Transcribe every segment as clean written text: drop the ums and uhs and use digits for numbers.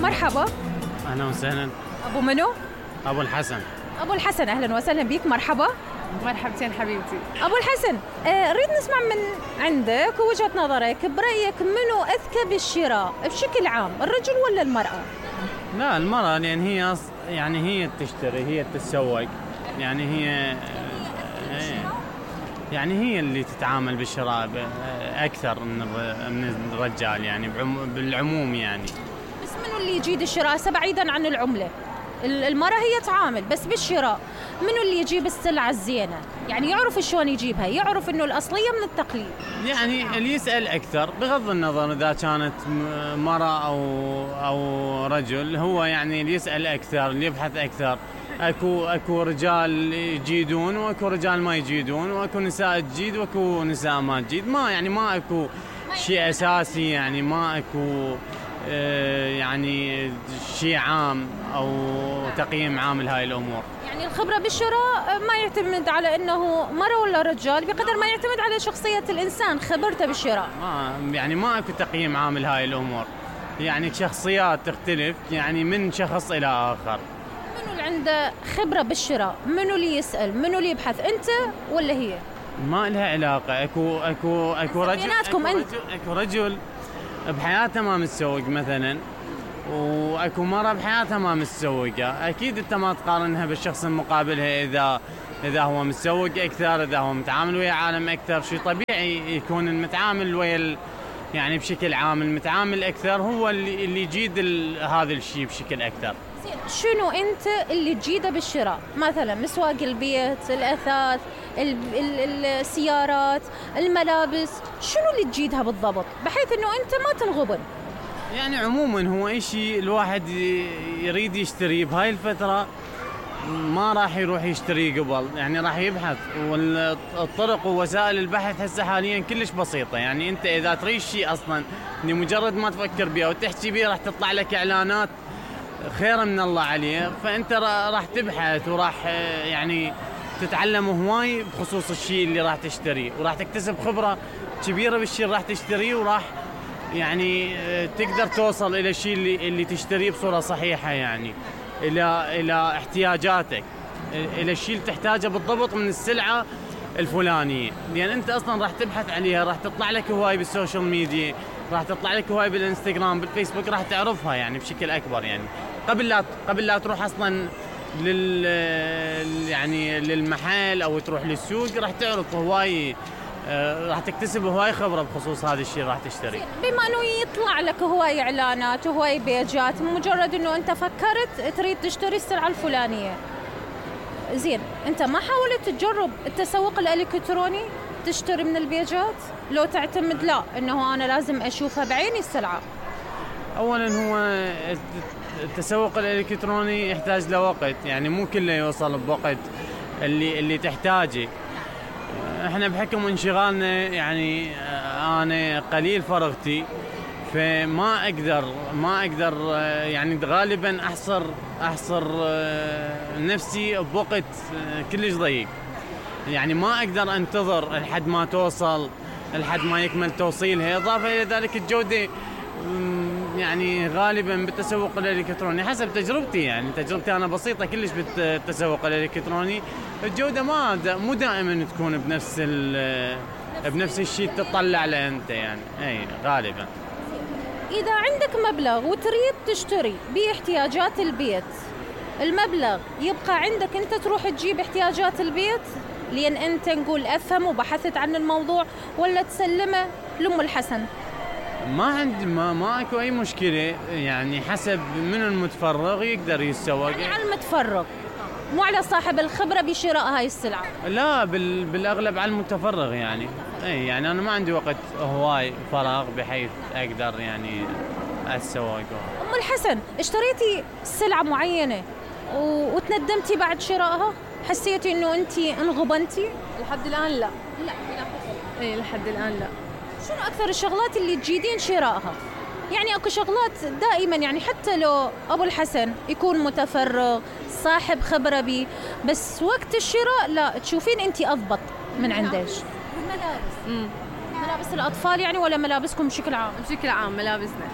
مرحبا. أهلا وسهلا. أبو منو؟ أبو الحسن. أبو الحسن، أهلا وسهلا بك. مرحبا. مرحبتين حبيبتي. أبو الحسن، أريد نسمع من عندك وجهة نظرك، برأيك منو أذكى بالشراء بشكل عام، الرجل ولا المرأة؟ لا، المرأة، لأن هي هي تشتري، هي تتسوق، هي اللي تتعامل بالشراء أكثر من الرجال، يعني بالعموم يعني. بس منو اللي يجيد الشراء بعيدا عن العملة؟ المرأة هي تعامل، بس بالشراء منو اللي يجيب السلعة الزينة؟ يعني يعرف شلون يجيبها، يعرف انه الأصلية من التقليد. يعني اللي يسأل أكثر بغض النظر إذا كانت مرأة أو رجل، هو يعني اللي يسأل أكثر، اللي يبحث أكثر. أكو رجال يجيدون وأكو رجال ما يجيدون، وأكو نساء تجيد وأكو نساء ما تجيد. ما أكو شيء أساسي، يعني ما أكو يعني شيء عام أو تقييم عام لهاي الأمور. يعني الخبرة بالشراء ما يعتمد على أنه مرة ولا رجال، بقدر ما يعتمد على شخصية الإنسان، خبرته بالشراء. ما أكو تقييم عام لهاي الأمور، يعني شخصيات تختلف يعني من شخص إلى آخر. منو اللي عنده خبرة بالشراء؟ منو اللي يسأل؟ منو اللي يبحث؟ أنت ولا هي؟ ما لها علاقة. أكو رجل بحياته ما متسوق مثلا، واكو مرة بحياتها ما متسوقة. اكيد انت ما تقارنها بالشخص المقابلها اذا هو متسوق اكثر، اذا هو متعامل ويا عالم اكثر. شيء طبيعي يكون المتعامل ويا يعني بشكل عام المتعامل اكثر هو اللي يجيد هذا الشيء بشكل اكثر. شنو انت اللي تجيده بالشراء؟ مثلا مسواق البيت، الاثاث، السيارات، الملابس، شنو اللي تجيدها بالضبط بحيث انه انت ما تنغبن؟ يعني عموما هو اي شيء الواحد يريد يشتريه بهاي الفترة ما راح يروح يشتريه قبل، يعني راح يبحث. والطرق ووسائل البحث هسه حاليا كلش بسيطة. يعني انت اذا تريد شيء اصلا مجرد ما تفكر بيه وتحكي بيه راح تطلع لك اعلانات خير من الله عليه. فانت راح تبحث وراح يعني تتعلم هواي بخصوص الشيء اللي راح تشتريه، وراح تكتسب خبرة كبيرة بالشيء اللي راح تشتريه، وراح يعني تقدر توصل الى الشيء اللي تشتريه بصورة صحيحة، يعني الى احتياجاتك، الى الشيء اللي تحتاجه بالضبط من السلعة الفلانية. لان انت اصلا راح تبحث عليها، راح تطلع لك هواي بالسوشيال ميديا، راح تطلع لك هواي بالانستغرام، بالفيسبوك، راح تعرفها يعني بشكل اكبر. يعني قبل لا تروح اصلا يعني للمحل او تروح للسوق راح تعرف هواي، راح تكتسب هواي خبرة بخصوص هذا الشيء راح تشتري. بما انه يطلع لك هواي اعلانات وهواي بيجات، مجرد انه انت فكرت تريد تشتري السلعة الفلانية، زين انت ما حاولت تجرب التسوق الالكتروني تشتري من البيجات؟ لو تعتمد لا انه انا لازم اشوفها بعيني السلعة. اولا هو التسوق الالكتروني يحتاج لوقت، يعني مو كله يوصل بوقت اللي تحتاجه. احنا بحكم انشغالنا يعني انا قليل فرغتي، فما اقدر يعني غالبا احصر نفسي بوقت كلش ضيق. يعني ما اقدر انتظر لحد ما توصل، لحد ما يكمل توصيلها. اضافه الى ذلك الجوده يعني غالبا بالتسوق الالكتروني حسب تجربتي، يعني تجربتي انا بسيطه كلش بالتسوق الالكتروني، الجوده مو دائما تكون بنفس الشيء تطلع له انت، يعني اي غالبا. اذا عندك مبلغ وتريد تشتري باحتياجات البيت، المبلغ يبقى عندك انت تروح تجيب احتياجات البيت لان انت نقول افهم وبحثت عن الموضوع، ولا تسلمه لأم الحسن؟ ما اكو اي مشكله، يعني حسب من المتفرغ يقدر يتسوق. يعني على المتفرغ مو على صاحب الخبره بشراء هاي السلعه؟ لا، بالاغلب على المتفرغ. يعني يعني انا ما عندي وقت هواي فراغ بحيث اقدر يعني اتسوق. ام الحسن، اشتريتي سلعه معينه وتندمتي بعد شرائها؟ حسيتي انه انت انغبنتي؟ لحد الان لا. لحد الان لا. شنو أكثر الشغلات اللي تجيدين شرائها؟ يعني أكو شغلات دائما، يعني حتى لو أبو الحسن يكون متفرغ صاحب خبرة بي، بس وقت الشراء لا تشوفين أنت أضبط من عندش. ملابس الأطفال يعني ولا ملابسكم بشكل عام؟ بشكل عام ملابسنا.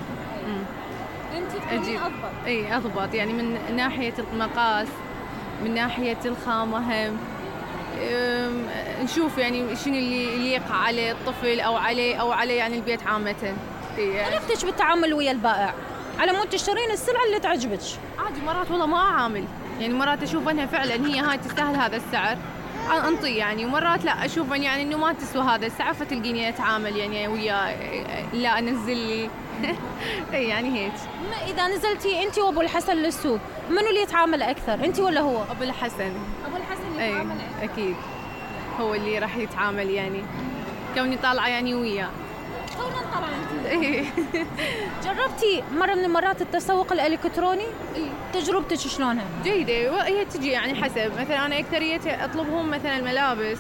انت اجيب اضبط. اي اضبط، يعني من ناحيه المقاس، من ناحيه الخامه هم. نشوف يعني شنو اللي يليق على الطفل او على يعني البيت عامه. طريقتك بالتعامل ويا البائع على مود تشترين السلعه اللي تعجبك؟ عادي مرات والله ما اعامل، يعني مرات اشوف انها فعلا هي هاي تستاهل هذا السعر انطي يعني، ومرات لا اشوف يعني انه ما تسوى هذا السعر فتلقيني اتعامل يعني وياه لا انزل لي يعني هيك. اذا نزلتي انت وابو الحسن للسوق منو اللي يتعامل اكثر، انت ولا هو؟ ابو الحسن. ابو الحسن يتعامل اكثر اكيد هو اللي راح يتعامل يعني كوني طالعه يعني وياه. كونا طالعه انت. جربتي مره من المرات التسوق الالكتروني؟ تجربتك شلونها؟ جيده، هي تجي يعني حسب، مثلا انا اكثريه اطلبهم مثلا الملابس،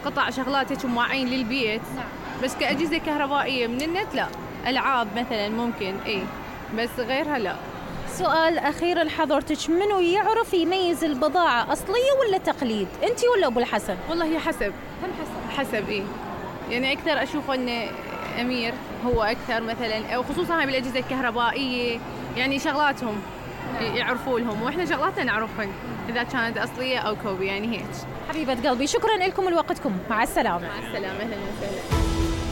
قطع شغلات هيك مواعين للبيت. بس كاجهزه كهربائيه من النت لا. العاب مثلا ممكن بس غيرها لا. سؤال اخير لحضرتك، منو يعرف يميز البضاعه اصليه ولا تقليد، انت ولا ابو الحسن؟ والله هي حسب. هم حسب. يعني اكثر اشوف ان امير هو اكثر مثلا، او خصوصا هاي بالاجهزه الكهربائيه يعني شغلاتهم يعرفوا لهم، واحنا شغلاتنا نعرفهن اذا كانت اصليه او كوبي يعني هيك. حبيبه قلبي شكرا لكم ولوقتكم، مع السلامه. مع السلامه، اهلا وسهلا.